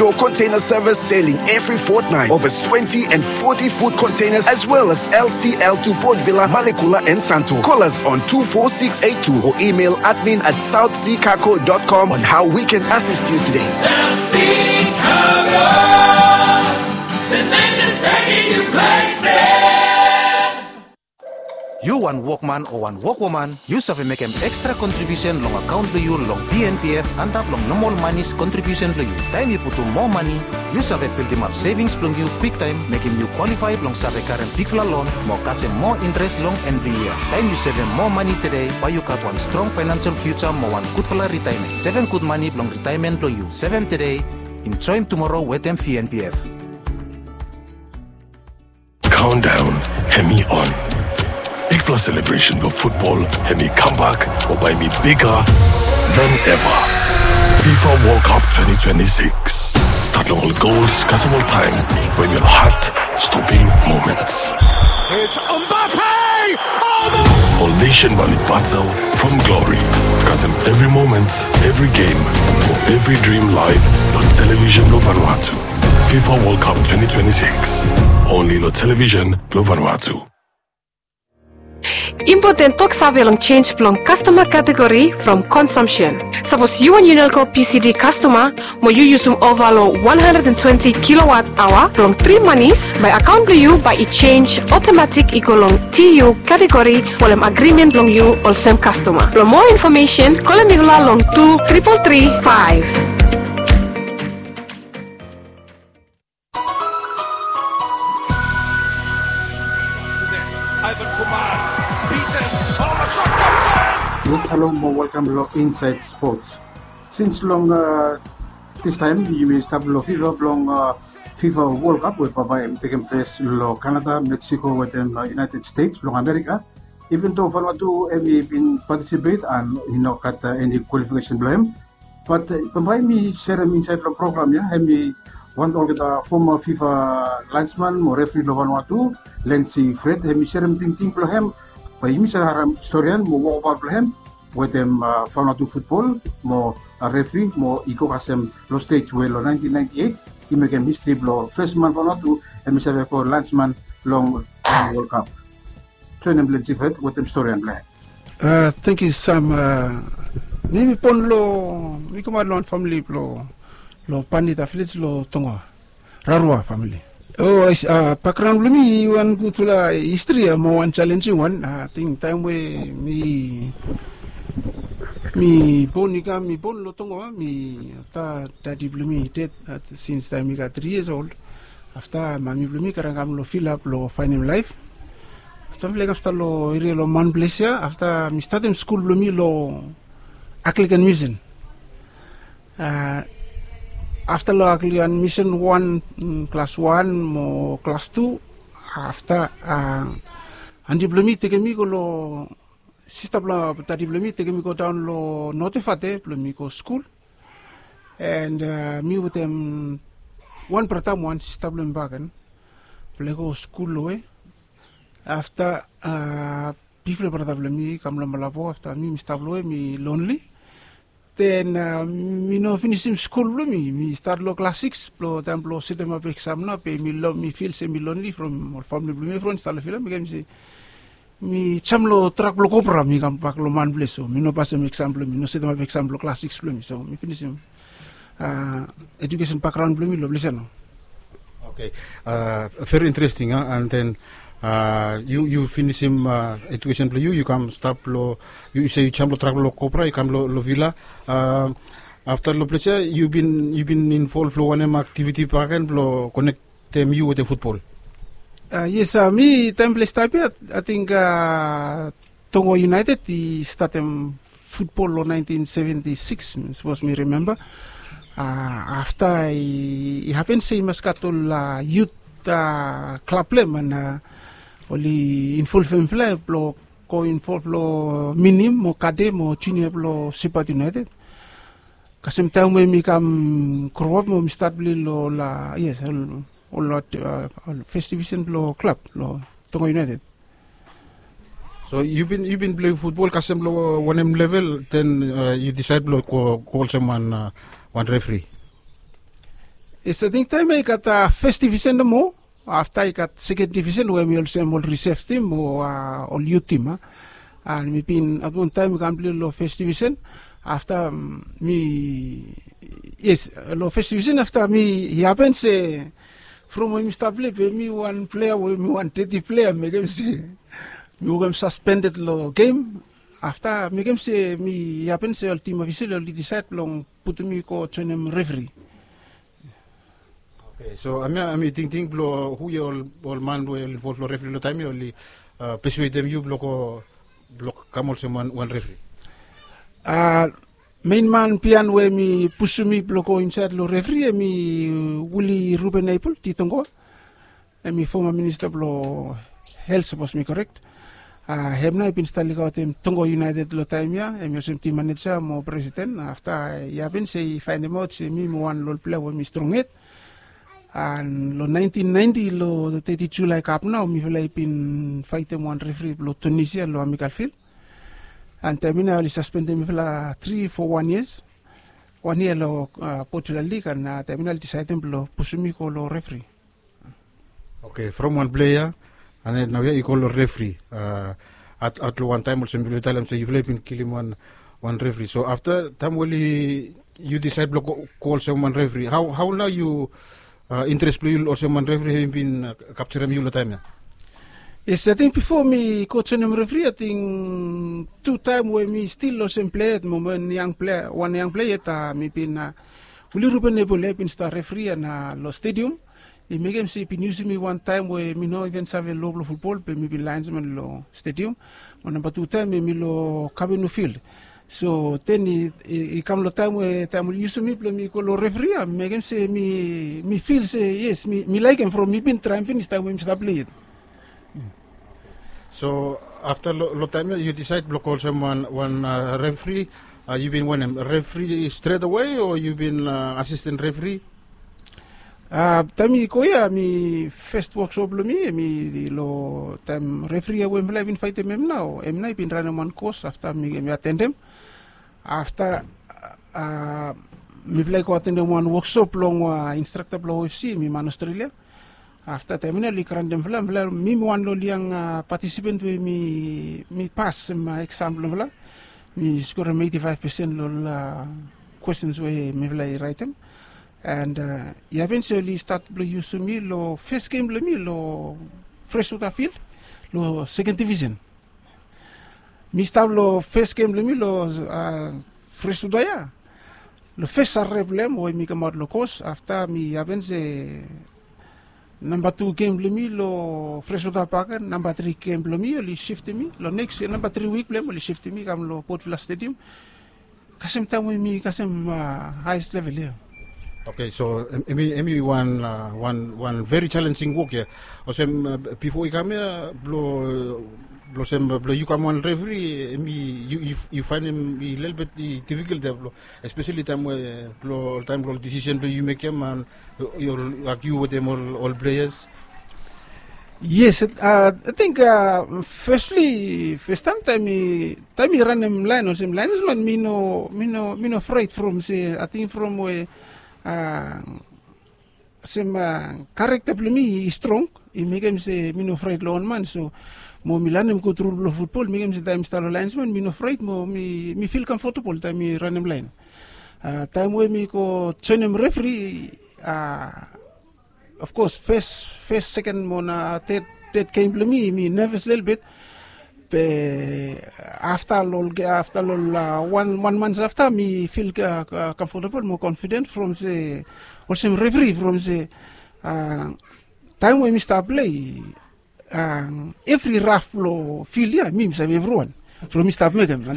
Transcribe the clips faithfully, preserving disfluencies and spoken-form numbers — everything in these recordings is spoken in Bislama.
Your container service sailing every fortnight. Over twenty and forty foot containers, as well as L C L to Port Vila, Malekula, and Santo. Call us on two four six eight two or email admin at south sea cargo dot com on how we can assist you today. South Sea Cargo, the man that's taking you places. Yu wan wokman o wan wokwoman, yu save mekem ekstra kontribiusen long akaon blong yu long V N P F antap long nomol manis kontribiusen blong yu. Taem yu putum moa mane, yu save bildimap sevings blong yu kwiktaem, mekem yu kwalifae blong save karem bigfala lon mo kasem moa intres long en blong yia. Taem yu sevem moa mane tede, bae yu gat wan strong faenensel fiuja mo wan gudfala ritaemen. Sevem gud mane blong ritaemen blong yu. Sevem tede, enjoem tumoro wetem V N P F. Countdown hemi on. Bigfala selebresen blong futbol hemi kambak mo bae hemi biga than eva. FIFA World Cup twenty twenty-six. Stat long ol gols kasem ol taem we ol heart-stopping moments. It's Mbappe! Oh, the... Ol nesen bae oli batel from glory. Kasem evri moment, evri gem, mo evri drim laef long televisen blong Vanuatu. FIFA World Cup twenty twenty-six. Only long televisen blong Vanuatu. Impoten toksave long jenis blong kastoma kategori from konsumsen. Sapos yu wan Unelco P C D kastoma mo yu yusum ova long wan handred and twenti kilowat aoa blong tri manis, bae akaon blong yu bae i jenis otomatik i go long T U kategori folem agrimen blong yu olsem kastoma. Blong moa infomesen, kolem mifala long tu tripol tri faef. Yes, halo mo welkam long Inside Sports. Sins long, a, distaem yumi stap long fiva blong, a, FIFA World Cup we bambae hemi tekem ples long Canada, Mexico wetem, a, United States blong Amerika. Even though Vanuatu hemi bin patisipet and i no gat, a, eni kwalifikesen blong hem, Bat, a, bambae mi serem insaed long program ya, hemi wan olgeta foma FIFA laensman mo refri long Vanuatu, Lensi Fred, hemi serem tingting blong hem. Bae yumi save harem storian mo wokbaot blong hem wetem, a, Vanuatu futbol mo, a, refri mo i go kasem long stej we long naentin naenti eit i mekem histri blong fes man Vanuatu hemi save go laensman long, long World Cup. Joenem Lensi Fred wetem storian blong hem. A, tangkiu Sam. A, mi mi bon long, mi kamaot long wan famili blong, long Panita vilej long Tongaoa. Rarua famili. O, a, bakgraon blong mi i wan gudfala histri, a, mo wan jalenjing wan. Ating taem we mi, mi bon i kam, mi bon long Tongaoa, mi, afta dadi blong mi i ded, a, sins taem mi gat tri yias ol. Afta mami blong mi karem kam long vila blong faenem laef. Afta mifala i kam stap long eria long Manples ya, afta mi statem skul blong mi long Anglican Mission. A, afta long Anglican Mission wan, mm, klas wan mo klas tu, afta, a, anti blong mi i tekem mi go long, sista blong dadi blong mi i tekem mi go daon long North Efate blong mi go skul. And, a, mi wetem wan brata mo wan sista blong mi bakegen. Mifala i go skul long we. Afta, a, bigfala brata blong mi i kam long Malabo, afta mi mi stap long we, mi lonli. Den, a, mi no finisim skul blong mi, mi stat long klas sikis, blong taem blong setemap eksam nao, be mi lo-, mi fil se mi lonli from ol famili blong mi, evriwan i stap long vila, mi kam se mi jam long trak blong Cobra, mi kambak long Manples, so mi no pasem eksam blong mi, no setemap eksam blong klas sikis blong mi, so mi finisim, a, ejukesen bakgraon blong mi long ples ya nao. Oke, a, veri interesting, a, and then, a, yu, yu finisim, a, ejukesen blong yu, yu kam stap long, yu se yu jam long trak blong Cobra, yu kam long, long vila. A, afta long ples ya, yu bin, yu bin involv long wanem aktiviti bakegen blong konek tem yu wetem futbol? A, yes, a, mi taem mifala i stap ya, ating, a, Tongo United i statem futbol long naentin seventi sikis, sapos mi rimemba. A, afta i, i hapen se i mas gat ol, a, yut, a, klab blong hem, and, a, oli involvem mifala blong go involv long minim mo kade mo junia blong Shepherd United. Kasem taem we mi kam groap mo mi stat pilai long ol, a, yes, ol, ol, a, ol fes divisen blong klab blong Tongo United. So yu bin, yu bin pilai futbol kasem long wanem level, den, a, yu disaed blong go, go olsem wan, a, wan refri? Yes, ating taem ya i gat fes divisen nomo. Afta i gat seken divisen we mi olsem ol risef tim o ol yut tim a. An mi bin at wan taem i kam plei long fes divisen. Afta mi yes, long fes divisen afta mi i hapen se from we mi stap plei be mi wan plea we mi wan deti plea mekem se mi wokem saspendet long gem. Afta mekem se mi i hapen se ol tim ofisel oli disaed blong putum mi go joenem refri. Oke, so amia ami tingting blong hu ya ol man we oli involv long refri long taem ya oli pesuedem yu blong go blong kam olsem wan refri? A, mein man bian we mi pusum mi blong go insaed long refri em i wili ruben epol titongo. Em i foma minista blong hel sapos mi korek. A, em nao i bin stap likaotem tongo iunaeted long taem ya em i olsem tim maneja mo presiden. Afta i hapen se i faenemaot se mi mi wan long ol plea we mi strong hed. An long naentin naenti long teti julae kap nao mifala i bin faetem wan refri blong tunisia long amikal fil. An taem ya nao oli saspendem mifala tri fo wan yias, wan yia long pojula lig an taem ya nao oli disaedem blong pusum mi go long refri. Oke, from wan plea ya an nao ya i go long refri. At long wan taem olsem yufala talem se yufala i bin kilim wan refri. So afta taem we oli yu disaed blong go olsem wan refri, hao nao yu interes blong yu olsem wan refri hem i bin kapjarem yu long taem ya? Yes, ating bifo mi go joenem refri ating tu taem we mi stil olsem plea yet mo wan yang plea yet. Mi bin wili ruben epol ya i bin stap refri ya na long stedium. I mekem se i bin yusum mi wan taem we mi no iven save loa blong futbol be mi bin laensman long stedium. Mo namba tu taem em i long kavenu fil. So ten i kam long taem we taem oli yusum mi blong mi go long refri ya mekem se mi fil se yes mi laekem from mi bin traem finis taem we mi stap plei yet. So afta long taem ya yu disaed blong go olsem wan refri, yu bin wanem refri stret awe o yu bin asisten refri? Taem i go ya mi fes woksop blong mi em i long taem refri ya we mifala i bin faetem em nao em nao i bin ranem wan kos afta mi atendem. Afta mifala i go atendem wan woksop long instrakta blong ofc mi man australia. Afta taem ya nao oli grantem mifala mifala mi mi wan long ol yang patisipen we mi pas em eksam blong mifala. Mi skorem eiti faef pesen long ol kwestens we mifala i raetem. And i hapen se oli stat blong yusum mi long fes gem blong mi long freswota fil long seken divisen. Mi stap long fes gem blong mi long freswota ya. Long fes sarere blong em we mi kamaot long kos afta mi hapen se namba tu gem blong mi long freswota pak ya namba tri gem blong mi oli siftim mi long neks yia namba tri wik blong em oli siftim mi kam long potfila stedium. Kasem taem we mi kasem haes level ya. Oke, so em i wan wan veri jalenjing wok ya. Olsem bifo i kam ya blong olsem blong yu kam wan refri em i yu faenem i lelebet i difikol ya blong espeseli taem we blong ol taem blong ol disisen blong yu mekem an yu agiu wetem ol pleas. Yes, ating fesli festaem taem i ranem laen olsem laenesman mi no mi no mi no fraet from se ating from we olsem karekta blong mi i strong i mekem se mi no fraet long wan man so mo mi lanem god rul blong futbol mekem se taem mi stap long laenesman mi no fraet mo mi fil kamfotabol taem mi ranem laen. Taem we mi go joenem refri of kos fes fes seken mo na ted ted gem blong mi mi neves lelebet. Be afta long afta long wan wan mans afta mi fil kamfotabol mo konfiden from se olsem refri from se taem we mi stap plei evri raf long fil ya mi mi save evriwan from mi stap mekem.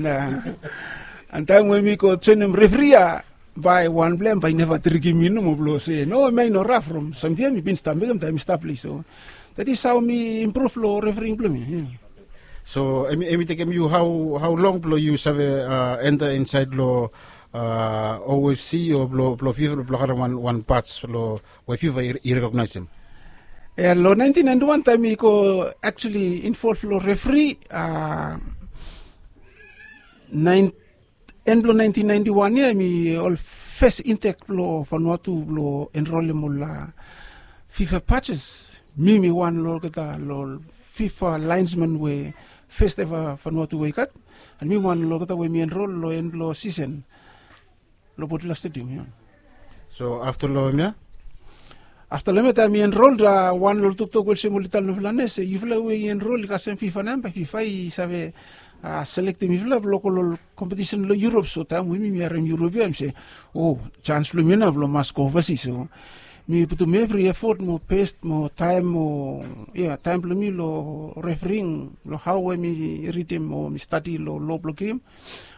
An taem we mi go joenem refri ya bae wanpela em bae i neva trikim mi nomo blong se no em ya i no raf from samting ya mi bin stap mekem taem mi stap ples so dat is hao mi impruv long refering blong mi. So em i tekem yu hao long blong yu save enta insaed long ofc o blong fifa blong karem wan pats long we fifa i rekognaesem? Ya long naentin naentin wan taem mi go aksuali involv long referi. En blong naentin naentin wan ya em i ol fes intek blong Vanuatu blong enrolem ol fifa patches. Mi mi wan long olgeta long fifa laensman we fes eva Vanuatu we i gat. An mi wan long olgeta we mi enrol long en blong sisen long Botula Stadium ya. So afta long hemia? Afta long hemia taem mi enrol, wan long toktok we olsem oli talem long fulani se yufala we i enrol i kasem fifa namba, fifa i save selektem yufala blong go long kompetisen long Europe. So taem we mi mi harem Europe ya mi se, o, sans blong mi nao blong mas go ovasi. So mi putum evri efot mo best mo taem mo, ya, taem blong mi long refering, long hao we mi ridim mo mi stadi long lo blong gem,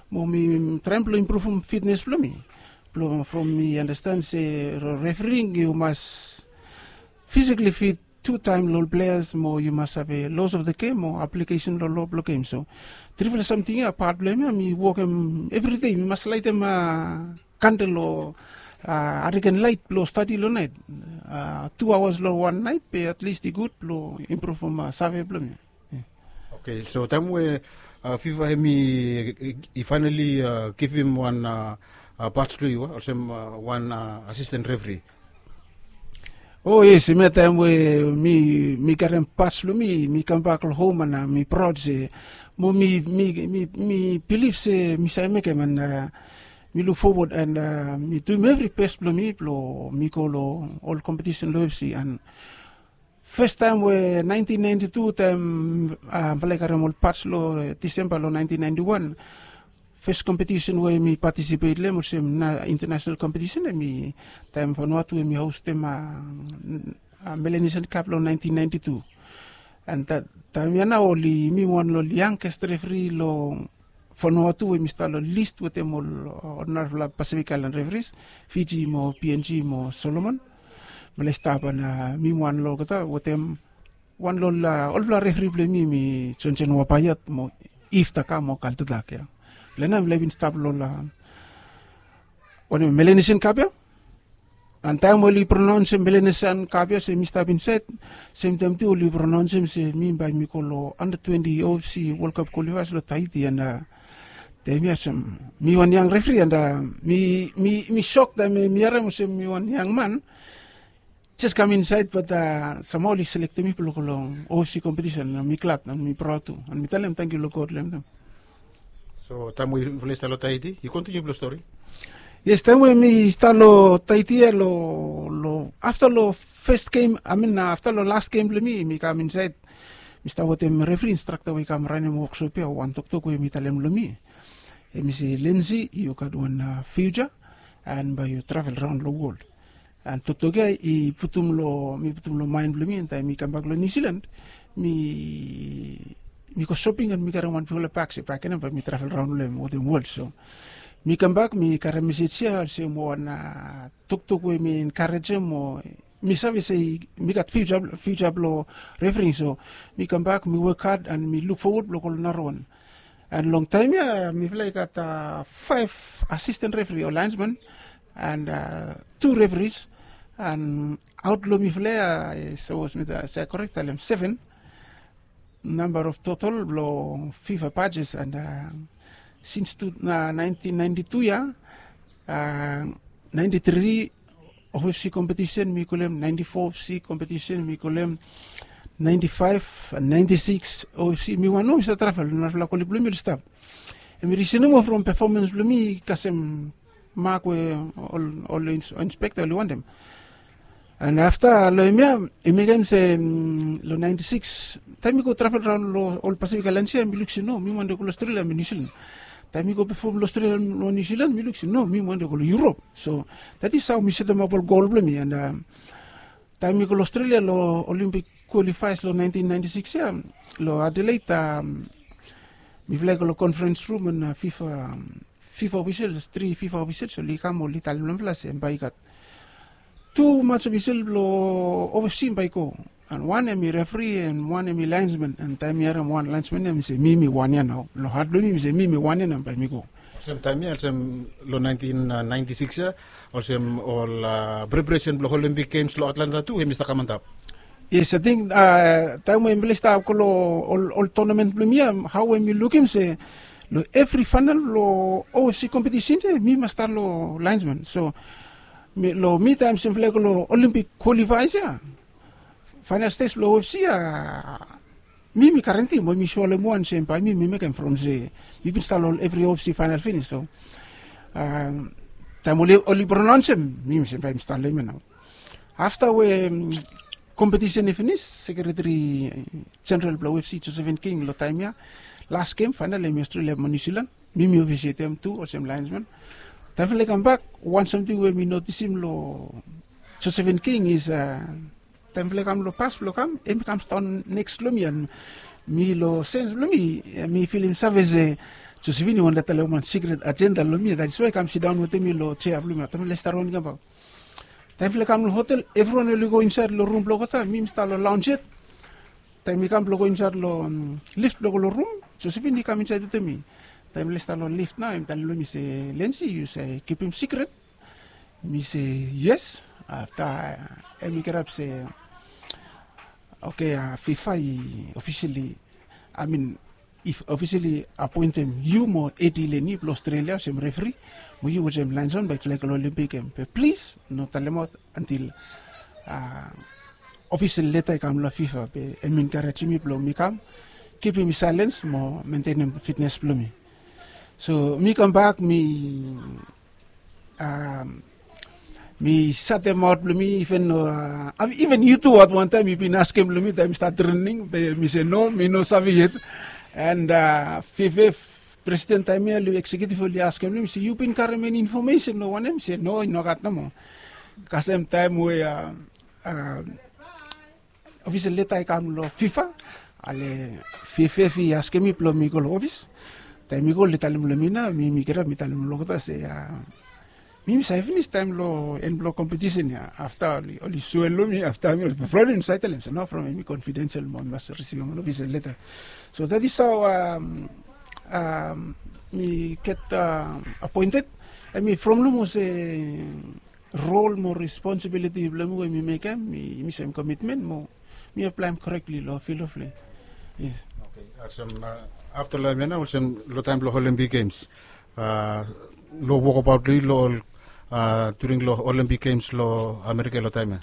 mo mi traem blong impruvum fitnes blong mi. Blong from mi anastan se long refering yu mas fisikali fit tu taem long ol pleas mo yu mas save los of the gem mo aplikesen long lo blong gem. So trifala samting ya, pat blong hemia mi wokem evridei. Mi mas laetem kandel o ariken laet blong stadi long naet. Tu aoas long wan naet be at least i gud blong impruvum save blong mi. Oke, so taem we fifa hemi i faenali givim wan pats blong yu olsem wan asisten refri? O yes, hemia taem we mi mi karem pats blong mi, mi kambak long hom an mi praod se mo mi mi mi bilif se mi save mekem an mi luk fowod an mi duim evri bes blong mi blong mi go long ol kompetisen long ofsi. An fes taem we naentin naenti tu taem mifala i karem ol pats long Disemba long naentin naenti wan, fes kompetisen we mi patisipet long hem olsem na intanasenal kompetisen hemi taem Vanuatu hemi hostem Melanesian Cup long naentin naenti tu. An taem ya nao oli, mi wan long ol yangest refri long Vanuatu we mi stap long list wetem ol narafala Pacific Island referees, Fiji mo P N G mo Solomon. Mifala i stap an mi wan long olgeta wetem wan long ol olfala refri blong mi, mi Johnson Wapaiat mo Iftaka mo Kaltatak ya. Mifala nao mifala i bin stap long ol wanem, Melanesian Cup ya. An taem oli pronaonsem Melanesian Cup ya se mi stap insaed, semtaem tu oli pronaonsem se mi bae mi go long anda twenti ofsi World Cup kwalifaes long Tahiti. An taem ya olsem mi wan yang refri an mi mi mi sok taem mi harem olsem mi wan yang man jes kam insaed, bat samhao oli selektem mi blong go long ofsi kompetisen. Mi glad an mi praod tu an mi talem tangkiu long God long hem. So taem we yufala i stap long Tahiti, yu kontiniu blong stori. Yes, taem we mi stap long Tahiti ya long, long afta long fes gem, I mean afta long las gem blong mi, mi kam insaed. Mi stap wetem refri instrakta we i kam ranem woksop ya, wan toktok we mi talem long mi. Hemi se, Lindsay, yu gat wan fiuja an bae yu travel raon long wol. An toktok ya i putum long, mi putum long maen blong mi, an taem mi kambak long Niu Silan, mi mi go soping an mi karem wanfala bak se bakegen bae mi travel raon long hem wetem wol. So mi kambak mi karem mesej ya olsem wan toktok we mi enkarejem mo mi save se mi gat fiuja, fiuja blong refering. So mi kambak mi wok had an mi luk fowod blong go long narawan. An long taem ya mifala i gat faef asisten referi o laensman an tu referis. An aot long mifala ya sapos mi save korek talem seven namba of total blong fifa badges. An sins tu naentin naenti tu ya, naenti tri ofsi kompetisen mi go long hem, naenti fo ofsi kompetisen mi go long hem, naenti faef an naenti sikis ofsi mi wan nomo mi save travel, narafala koleg blong mi oli stap. Hemi risen nomo from pefomans blong mi i kasem mak we ol inspekta oli wantem. An afta long hemia i mekem se long naenti sikis taem mi go travel raon long ol Pasifik aelans ya mi luk se no, mi wantem go long Australia mo Niu Silan. Taem mi go pefom long Australia mo Niu Silan mi luk se no, mi wantem go long Europe. So that is hao mi setemap ol gol blong mi. An taem mi go long Australia long Olympic qualifiers long naentin naenti sikis ya long Adelaide, mifala i go long conference room an fifa, fifa officials, tri fifa officials oli kam oli talem long mifala se bae i gat tu mats official blong ofsi bae i go. An wan hemi referi an wan hemi laensman. An taem mi harem wan laensman ya mi se mi mi wan ya nao. Long hat blong mi mi se mi mi wan ya nao bae mi go. Olsem taem ya olsem long naentin naenti sikis ya olsem ol preparesen blong Olympic Games long Atlanta tu hemi stap kam antap. Yes, ating taem we mifala i stap go long ol tonamen blong mi ya, hao we mi lukim se Long evri fainal long ofc kompetisen ya mi mas stap long laensman. So long mi taem sem flag long olimpik kwalifais ya, fainal stes blong ofc ya, mi mi garanti mo mi soa long em wan sem bae mi mi mekem from se mi bin stap long evri ofc fainal finis. So taem oli pronaonsem mi mi sem bae mi stap long em ya nao. Afta we kompetisen i finis, sekreteri jeneral blong ofc josephine king long taem ya, las gem fainal em i australia mo niu silan. Mi mi ofisietem tu olsem laensman. Taem fala i kambak, wan samting we mi notisim long josephine king is taem fala i kam long pas blong kam em i kam staon neks long mi an mi long sens blong mi mi filim save se josephine i wantem talem wan sikret ajenda long mi, dat is wai i kam sidaon wetem mi long jea blong mi taem fala i stap raon i kambak. Taem fala i kam long hotel evriwan oli go insaed long rum blong olgeta, mi mi stap long laons yet. Taem mi kam blong go insaed long lif blong go long rum, josephine i kam insaed wetem mi. Taem fala i stap long lif nao em i talem long mi se, lensi yu save kipim sikret? Mi se, yes. Afta em i kirap se, oke, fifa i ofisili, amin, i ofisili apoentem yu mo edi leni blong australia olsem refri, mo yu olsem laenson bae i flag long olimpik em be plis no talemaot antil ofisel leta i kam long fifa be em i enkarejem mi blong mi kam kipim mi saelens mo mentenem fitnes blong mi. So mi kambak mi mi satemaot blong mi iven iven yu tu at wantaem yu bin askem long mi taem mi stat trening be mi se no, mi no save yet. And fifa presiden taem ya long eksekiutiv oli askem long mi se yu bin karem eni infomesen long wanem? Mi se no, i nogat nomo. Kasem taem we ofisel leta i kam long fifa, ale fifa i askem mi blong mi go long ofis. Taem mi go oli talem long mi nao mi mi kirap mi talem long olgeta se mi mi save finis taem long en blong kompetisen ya. Afta oli soe long mi afta mi oli problem mi save talem se nao from em i konfidensel mo mi mas risivim wan ofisel leta. So dat is hao mi get apoented. Em i from long olse rol mo responsibiliti blong mi we mi mekem mi sem komitmen mo mi aplaem korekli long fil of plei. Yes. Afta long em ya nao olsem long taem blong olimpik gems, long wokabaot blong yu long ol during long olimpik gems long amerika long taem ya?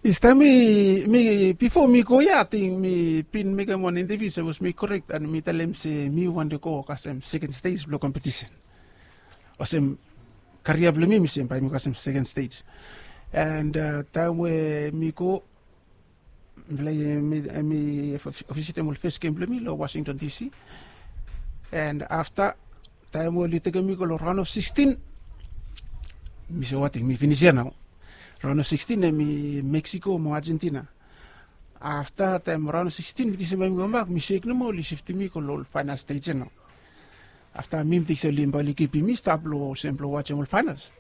Yes, taem mi bifo mi go ya ating mi bin mekem wan inteviu sapos mi korek an mi talem se mi wantem go kasem seken stej blong kompetisen. Olsem karia blong mi mi sem bae mi go kasem seken stej. And taem we mi go mifala i ofisitim ol fes gem blong mi long washington dc. And afta taem we oli tekem mi go long raon of sixteen, mi se wating mi finis ya nao. Raon of sixteen em i mexico mo argentina. Afta taem raon of sixteen mi tingse bae mi go bak mi sek nomo oli siftim mi go long ol faenal stej ya nao. Afta mi mi tingse oli bae oli kipim mi stap long olsem blong wajem ol faenals.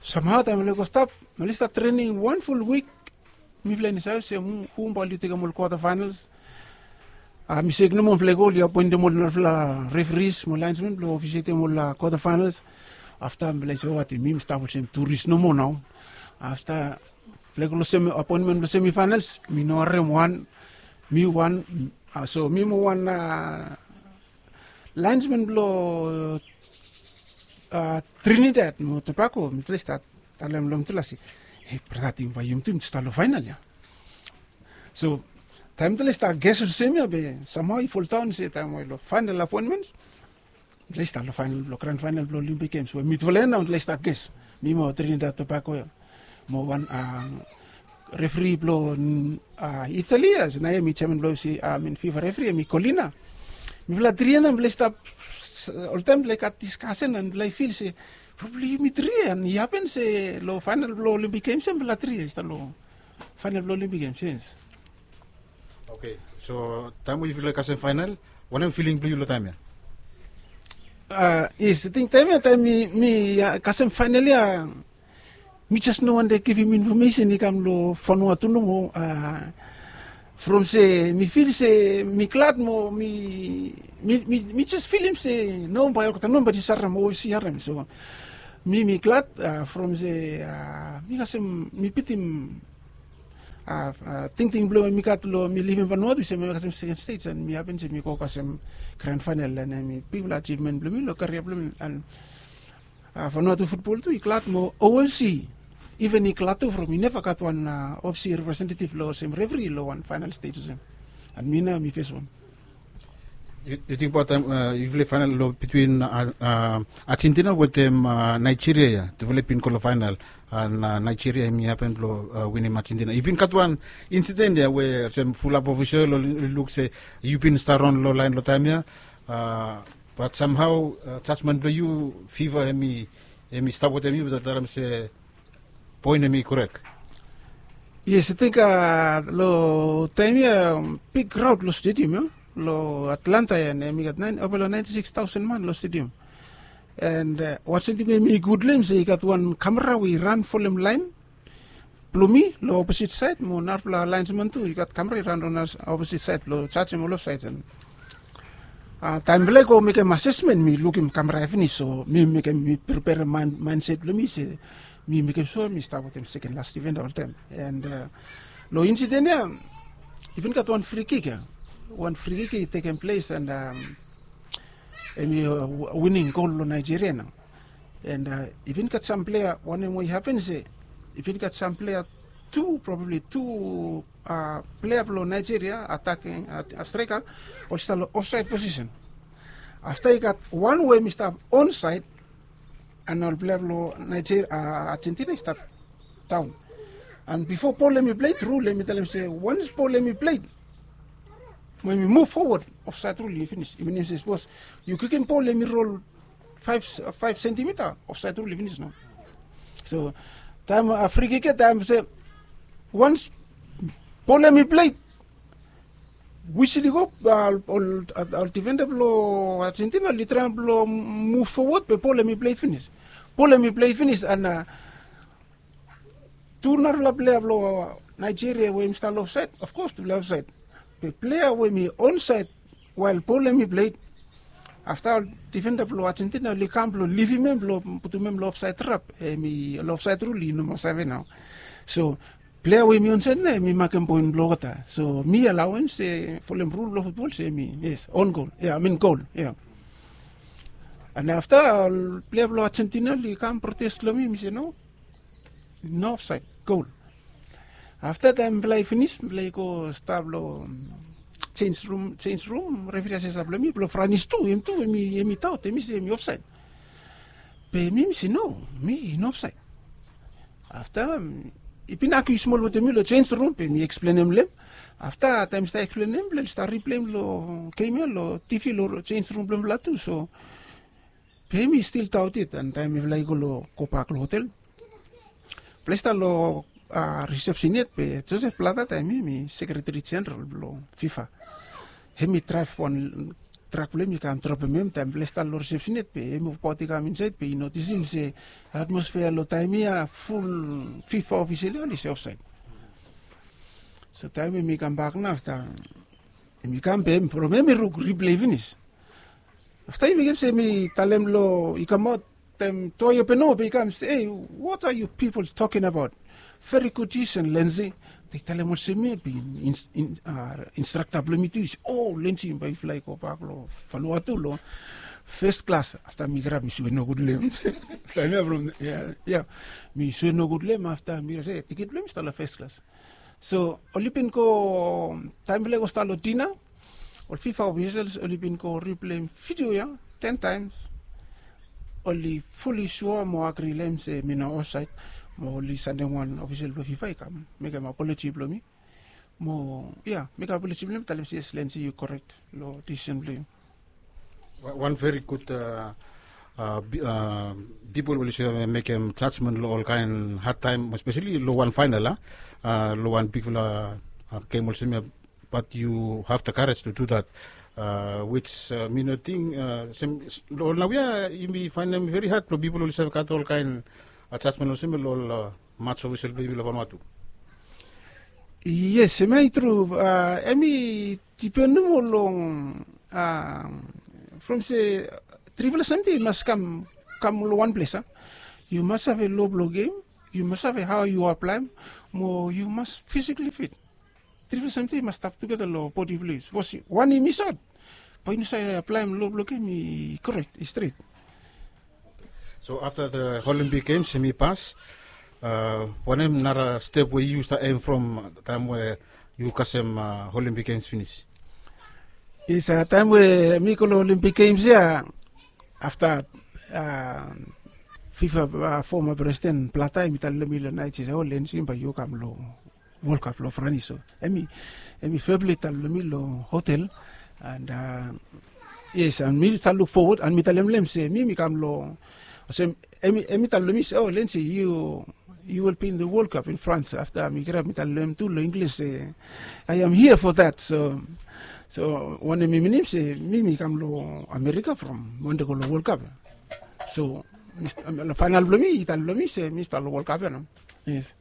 Samhao taem oli go stap oli stap trening wan ful wik. Mifala i no save olsem hu bae oli tekem ol kwata faenals. Mi sek nomo mifala i go oli apoentem ol narafala referis mo laensmen blong ofisietem ol kwata faenals. Afta mifala i se watem mi mi stap olsem turis nomo nao. Afta mifala i go long apoentmen blong semi faenals mi no harem wan. Mi wan so mi mo wan laensmen blong trinidad mo tobako mitala i stat talem long mitala se, e brata ting bae yum tu mitala i stap long faenal ya. So taem mitala i stat ges olsem ya be samhao i foldaon se taem we long faenal apoentmen mitala i stat long faenal blong gran faenal blong olimpik gems we mitala ya nao mitala i stat ges. Mi mo trinidad tobako ya mo wan refri blong itali ya se nao ya mi jeman blong ofisi amin fifa refri ya mi kolina. Mifala tri ya nao mifala i stap oltaem mifala i gat diskasen an mifala i fil se probabli yumi tri ya an i hapen se long faenal blong olimpik gems ya mifala tri ya i stap long faenal blong olimpik gems yes. Oke. So taem we yufala i kasem faenal, wanem filing blong yu long taem ya? Yes, ating taem ya taem mi kasem faenal ya mi jes no wantem givim infomesen i kam long fanua tu nomo. From se mi fil se mi glad mo mi mi jes filim se no bae olgeta no bae jes harem o si harem so mi mi glad. From se mi kasem mi bitim tingting blong mi gat long mi livim Vanuatu se mi kasem second stage and mi happen se mi go kasem grand final and mi bigfala achievement blong mi long career blong mi and Vanuatu football tu i glad mo O F C even i glad tu from i never gat wan O F C representative long sem referee long wan final stage sem. And mi nao mi first one. Yu ting about time yu play final lo between Argentina wetem Nigeria ia. Tufala i bin go lo final and Nigeria hemi happen lo winim Argentina. I bin gat wan incident ia we olsem fulap official oli luk se yu bin stap raon lo lain lo taim ia. But somehow judgment blo yu FIFA hemi hemi stap wetem yu, but talem se point hemi korek. Yes, I think lo taim ia big crowd lo stadium ia lo Atlanta ia, na hemi gat nine over lo ninety six thousand man lo stadium. And wan samting we mi gud long hem se i gat wan kamera we i ran folem lain blo mi lo opposite side mo narafala linesman tu i gat kamera i ran lo opposite side blo jajem ol ofside. And taim blong i go mekem assessment mi lukim kamera ia finis, so mi mekem mi preperem mindset blong mi se mi mekem sua mi stap wetem second last event oltaim. And long incident ia i bin gat wan free kick ia, wan free kick i tekem ples and hemi wining gol long Nigeria nao. And i bin gat sam plea wanem we i hapen se i bin gat sam plea tu, probably tu plea blong Nigeria ataking, streka, oli stap long ofsaid posisen. Afta i gat wan we hemi stap onsaid and ol plea blong Nigeria, Argentina i stap daon. And bifo bol hemi pleit rul hemi talem se wans bol hemi pleit mo hemi muv fowod, ofsaid rul i finis. I minim se sapos yu kikim bol hemi rol faif sentimita, ofsaid rul i finis nao. So taim frikik ia taim se wans bol hemi pleit, wisil i go, ol difenda blong Argentina oli traem blong muv fowod be bol hemi pleit finis. Bol hemi pleit finis and tu narafala plea blong Nigeria we hemi stap long ofsaid, ofkos tufala ofsaid. Be plea we hemi onsaid wael bol hemi pleit, afta ol difenda blong Argentina oli kam blong livim hem blong putum hem long ofsaid trap, hemi long ofsaid rul i no moa save nao. So plea we hemi onsaid nao hemi makem poen blong olgeta. So mi alao hem se folem rul blong futbol se hemi yes, on gol ia, I mean gol ia. And afta ol plea blong Argentina oli kam protes long mi, mi se no, no ofsaid, gol. Afta taim mifala i finis mifala i go stap long jenis rum, jenis rum, referi asesa blong mi blong Franis tu, hem tu hemi taot, hemi se hemi ofsaid. Be mi mi se no, mi no ofsaid. Afta i bin agiu smol wetem mi long jenis rum be mi eksplenem long hem. Afta taim mi stap eksplenem long hem mifala i stap ripleim long gem ia long TV long jenis rum blong mifala tu. So be mi stil daot it and taim mifala i go long gobak long hotel, mifala i stap long risepsen yet be Joseph Blatter taim ia hemi sekreteri jeneral blong FIFA. Hemi draev wan trak blong hem i kam dropem hem taim mifala i stap long risepsen yet be hemi wokabaot i kam insaed be i notisim se atmosfea long taim ia ful FIFA ofisel ia oli se ofsaed. So taim hemi kambak nao afta hemi kam be from hemi ruk riplei finis. Afta i mekem se mi talem long i kamaot taim toa open o be i kam se, ei, what are you people talking about? Very good decision, Lenzi. Taim i talem olsem ia be instrakta blong mi tu i se, o Lenzi, bae yufala i gobak long Vanuatu long fes klas. Afta mi kirap mi sue nogud long hem. Taim ia from ia mi sue nogud long hem afta mi kirap se tikit blong hem i stap long fes klas. So oli bin go, taim mifala i go stap long dina, ol FIFA ofisels oli bin go ripleim vidio ia ten taims. Oli fuli sua mo agri long hem se mi no ofsaed. Mo oli sandem wan ofisel blong FIFA i kam mekem apoloji blong mi. Mo ia mekem apoloji blong hem talem se yes, Lenzi, yu korek long disisen blong yu. Wan veri gud pipol oli save mekem jajmen long ol kaen had taim, espeseli long wan faenal a, long wan bigfala gem olsem ia. Bat yu have the karej tu du dat, wits mi no ting olsem long ol naoia yumi faenem veri had blong pipol oli save gat ol kaen jajmen olsem ia long ol mats ofisel blong yumi long Vanuatu. Yes, hemia i tru. Hemi dipen nomo long from se trifala samting i mas kam kam long wan ples a. Yu mas save lo blong gem, Yu mas save hao yu aplaem mo yu mas fisikli fit. Trifala samting i mas stap tugeta long bodi blong yu. Sapos wan i mis aot, bae yu no save aplaem lo blong gem i korek, i stret. So afta the Olympic Games hem i pas, wanem nara step we yu stap em from taem we yu kasem Olympic Games finis? Yes, taem we mi go long Olympic Games ya, afta fifa foma presiden Blata hem i talem long mi long naet, i se, o Lensi, bae yu kam long World Cup long Franis. So hem i feblet talem long mi long hotel. And yes, and mi stap luk fowod and mi talem long hem se mi mi kam long, olsem, hem i talem long mi se, o Lensi, yu yu will be in the World Cup in France. Afta mi kirap mi talem long hem tu long Inglis se, I am here for that. So so wanem i minim se mi mi kam long Amerika from wande go long World Cup. So faenal blong mi i talem long mi se mi stap long World Cup ya nao. Yes.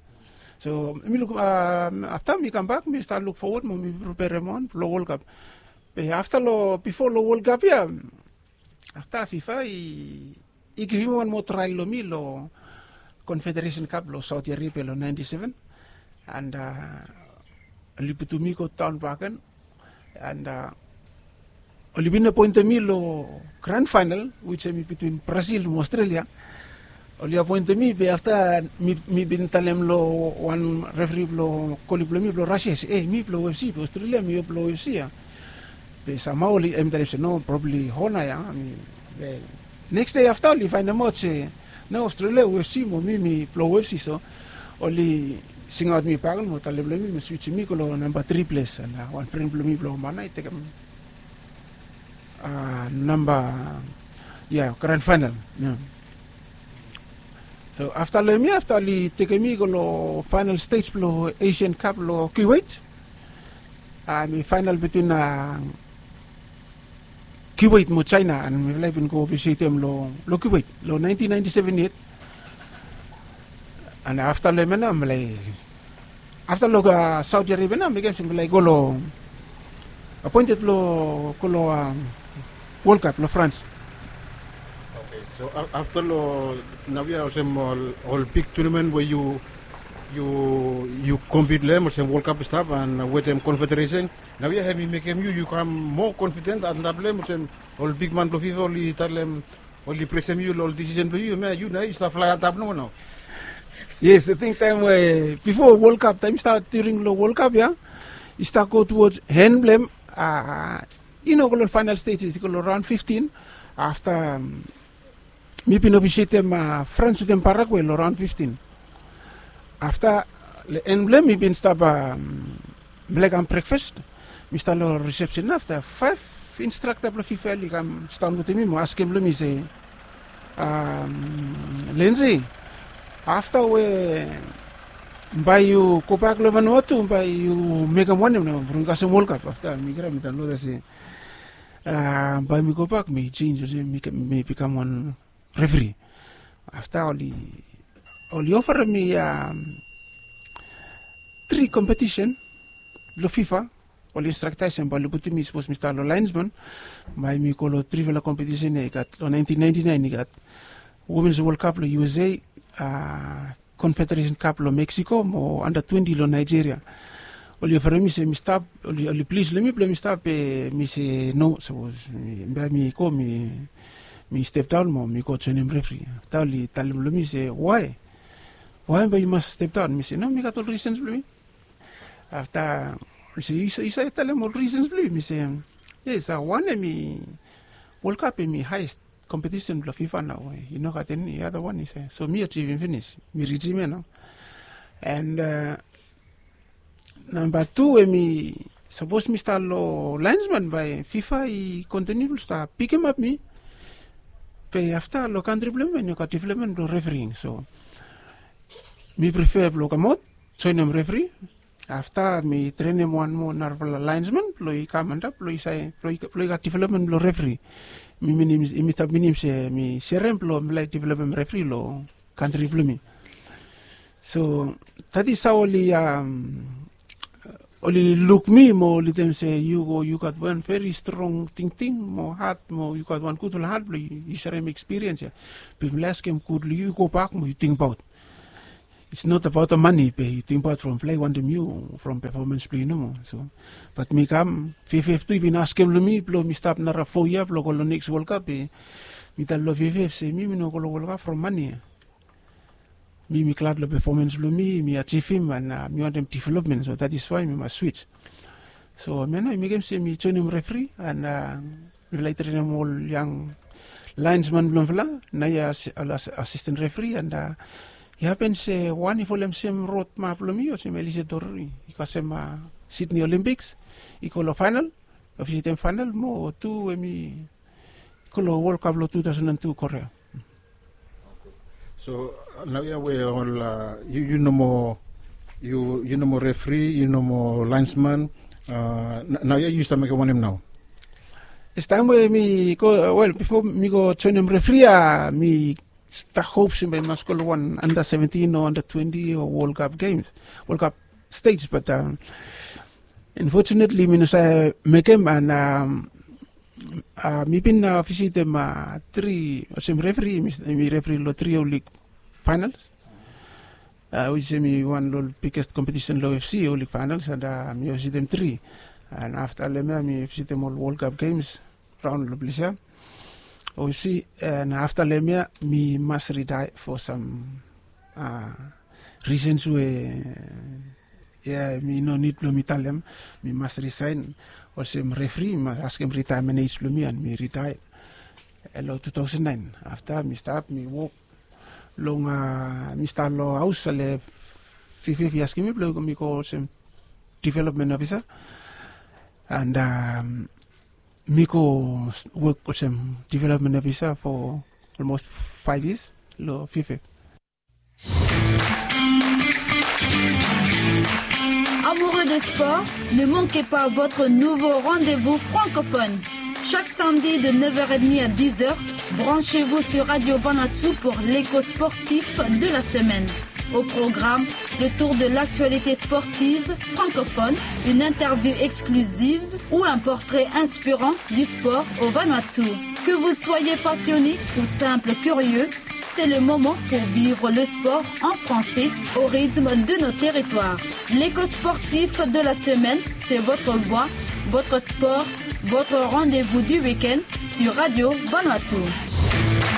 So mi luk, afta mi kambak mi stap luk fowod mo mi preperem wan blong World Cup. Be afta long bifo long World Cup ya, afta fifa i givim wan moa trael long mi long Confederation Cup long Saudi Arabia long ninety seven. And oli putum mi go daon bakegen. And oli bin apoentem mi long grand final, which hem i between Brazil mo Australia. Oli apoentem mi be afta mi bin talem long wan referi blong koli blong mi blong Rasia se, e, mi blong U F C, be Australia mi blong U F C ya. Be samhao oli hem i talem se, no, probably hona ya. Be neks dei afta oli faenemaot se, no, Australia U F C mo mi mi blong U F C. So oli singaot mi bakegen mo talem long mi mo swijim mi go long namba tri ples. And wan fren blong mi blong Mana i tekem namba, ya, grand final. So afta long hem ya, afta oli tekem mi go long final stej blong Asian Cup long Kuwait. Mi final between Kuwait mo China, and mifala i bin go visitem long Kuwait long nineteen ninety seven yet. And afta long hem ya nao mifala i, afta long Saudi Arabia nao, mekem se mifala i go long, apoented blong go long World Cup long France. So afta long naoia, olsem ol big tournament we yu, yu compete long hem, olsem World Cup i stap and wetem Confederation, naoia hem i mekem yu, yu kam moa confident antap long hem, olsem ol bigman blong fifa oli talem, oli presem yu long ol decision blong yu, hemia yu nao yu stap flae antap nomo nao. Yes, ating taem we bifo World Cup, taem i stap during long World Cup ya, i stap go towards hen blong hem. I no go long final stages, i go long raon fiftin. Afta mi bin ofisietem France wetem Paraguay long raon fiftin. Afta long en blong hem mi bin stap, mifala i kam brekfas. Mi stap long risepsen, afta faef instrakta blong fifa oli kam sidaon wetem mi mo askem long mi se, Lensi, afta we bae yu gobak long Vanuatu, bae yu mekem wanem nao from yu kasem World Cup? Afta mi kirap mi talem long olgeta se, bae mi gobak mi jenis olsem mi bikam wan referi. Afta oli ofarem mi tri kompetisen blong fifa. Oli instraktaesem bae oli putum mi, sapos mi stap long laensman, bae mi go long trifala kompetisen ya i gat long nineteen ninety-nine, i gat Women's World Cup long U S A, Confederation Cup long Mexico mo anda twenti long Nigeria. Oli ofarem mi se mi stap, oli plis long mi blong mi stap, be mi se no, sapos bae mi go mi step daon mo mi go joenem refri. Afta oli talem long mi se wae, wae bae yu mas step daon? Mi se no, mi gat ol risens blong mi. Afta oli se yu save talem ol risens blong yu? Mi se yes, wan hemi World Cup hemi haes kompetisen blong fifa nao, i no gat eni ada wan i se. So mi ajivim finis, mi rijim ya nao. And namba tu hemi sapos mi stap long laensman bae fifa i kontiniu blong stap pikimap mi. Be afta long kantri blong mi i no gat developmen blong refering, so mi prefer blong kamaot joenem refri. Afta mi trenem wan moa narafala laensman blong i kam antap blong i save blong i gat developmen blong refri. Mi minim mi stap minim se mi serem blong mifala i developem refri long kantri blong mi. So that is hao oli oli luk mi mo oli talem se yu go, yu gat wan veri strong tingting mo hat mo yu gat wan gudfala hat blong yu serem ekspiriens ya. Be mifala i askem gud long yu, yu gobak mo yu tingbaot. it's not about the money be yu tingbaot from flag wantem yu from performance blong yu nomo so. Bat mi kam fiafia tu i bin askem long mi blong mi stap nara fo yia blong go long next world cup be mi tal long fiafia se mi mi no go long world cup from money. Mi mi glad long performance blong mi mi achivim and mi wantem development so that is why mi mas switch. So mi nao i mekem se mi joinim refri and mifala i trenem ol yang laensman blong mifala na i asisten refri and i hapen se wan i folem sem rod map blong mi olsem elise dorori i kasem sidney olympics i go long fainal, visitem fainal mo tu em i go long world cup long two thousand and two korea. So nau ya we ol yu yu no mo yu yu no mo refri yu no mo linesman. Nau ya yu stap mekem wanem nau? Is taim we mi go wel bifo mi go joinim refri ya mi stap hop se mi mas go long wan under seventeen o under twenty o world cup games, world cup stage bat unfortunately mi no save mekem and mi bin visitim tri olsem refri mi refri long tri olik finals. Which em i wan long ol biggest kompetisen long ofc olik finals and mi visitim tri. And afta long em ya mi visitim ol world cup games raun long ples ya. Ofc and afta long em ya mi mas ritae fo sam risens we ya mi no nid blong mi talem. Mi mas risain olsem refri mi mas askem ritaemen ej blong mi and mi ritae long two thousand nine. Afta mi stap mi wok long mi stap long haus ale fifif i askem mi blong mi go olsem development ofisa and mi go wok olsem development ofisa fo olmos faiv yias long fifif. Amoureux de sport, ne manquez pas votre nouveau rendez-vous francophone. Chaque samedi de neuf heures trente à dix heures, branchez-vous sur Radio Vanuatu pour l'écho sportif de la semaine. Au programme, le tour de l'actualité sportive francophone, une interview exclusive ou un portrait inspirant du sport au Vanuatu. Que vous soyez passionné ou simple curieux, c'est le moment pour vivre le sport en français au rythme de nos territoires. L'écho sportif de la semaine, c'est votre voix, votre sport, votre rendez-vous du week-end sur Radio Vanuatu.